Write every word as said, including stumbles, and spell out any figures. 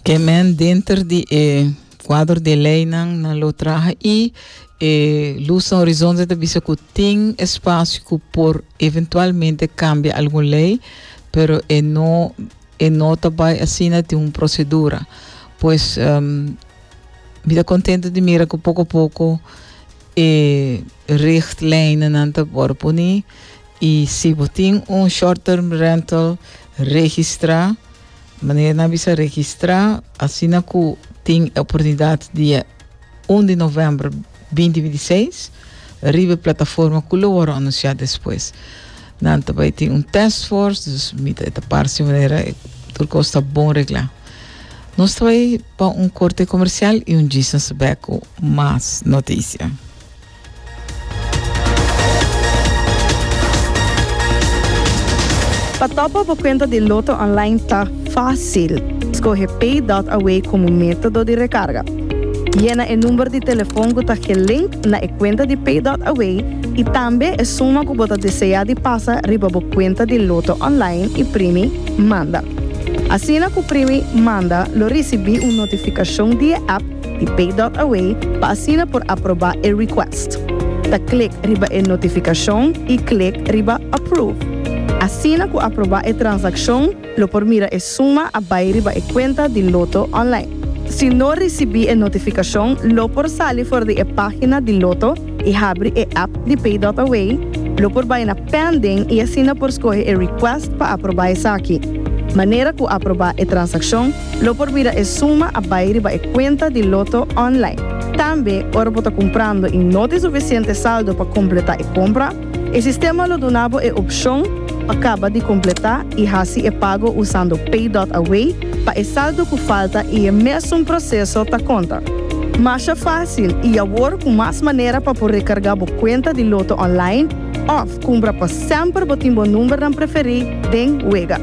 Ke men denter di e kuadro di leinan nan lo traha i e Luz na Horizonte ta bisa ku tin espasio ku por eventualmente kambia algun lei, pero e no e no ta bai asina, tin un prosedura. Pues um, mi ta kontentu di mira ku poko poko e richtlijnen ta wòrdu poni i si bo tin un short term rental, registrá, manera nan bisa, registrá asina ku tin oportunidat dia un di novèmber dos mil bintiseis riba plataforma ku lo wòrdu anunsiá despues. Nan tambe tin un task force, dus mi ta parse manera tur kos ta bon reglá. Nos ta pa un korte komersial i un djis bèk ku mas notisia. Pa top up kuenta di Lotto Online ta fásil. Skohe Pay punto A W komo método di rekarga. Yena e number di telefòn ku ta gelink na e kuenta di Pay punto A W i tambe e suma ku bo ta deseá di pasa riba bo kuenta di Lotto Online i primi Manda. Asina ku primi Manda, lo risibí un notifikashon di app di Pay punto A W pa asina por aprobá e request. Ta klek riba e notifikashon i klek riba Approve. Asina ku aprobá e transakshon, lo por mira e suma a bai riba e kuenta di Lotto Online. Si no risibí e notifikashon, lo por sali for di e página di Lotto i habri e app di Pay punto A W, lo por bai na Pending i asina por skohe e request pa aprobá esaki. Manera ku aprobá e transakshon, lo por mira e suma a bai riba e kuenta di Lotto Online. Tambe, ora bo ta kumprando i no tin sufisiente saldo pa kompletá e kompra, e sistema lo duna bo e opshon pa kaba di kompletá i hasi e pago usando Pay punto A W pa e saldo ku falta i e mesun proseso ta konta. Masha fásil i awor ku mas manera pa por rekargá bo kuenta di Lotto Online òf kumpra pa semper bo tin bo numbernan preferí den wega.